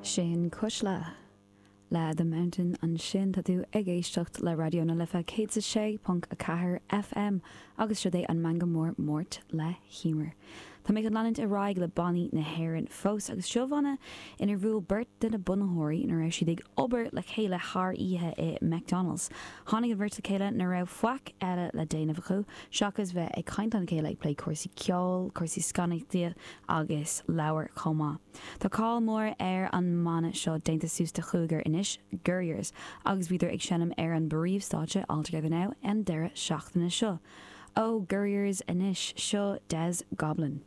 Sin Cuisle le The Mountain ansin. Tá tú ag éisteacht le Raidió na Life 106.4 FM agus seo é an Meangadh Mór Máirt le hEmer. Tá mé chun leanúint ar aghaidh le bannaí na hÉireann fós agus seo banna inar bhuail beirt de na bunaitheoirí nuair a raibh siad ag obair le chéile thar oíche i McDonald's. Tháinig an bheirt le chéile nuair a raibh faic eile le déanamh acu seachas bheith ag caint lena chéile ag plé cúrsaí ceoil, cúrsaí scannánaíochta agus leabhar chomh maith. Tá cáil mhór ar an mbanna seo déanta suas de chúigear anois, Gurriers, agus bhíodar ag seinm ar an bpríomhstáitse All Together Now an deireadh seachtaine seo. Ó Gurriers anois, seo Des Goblin.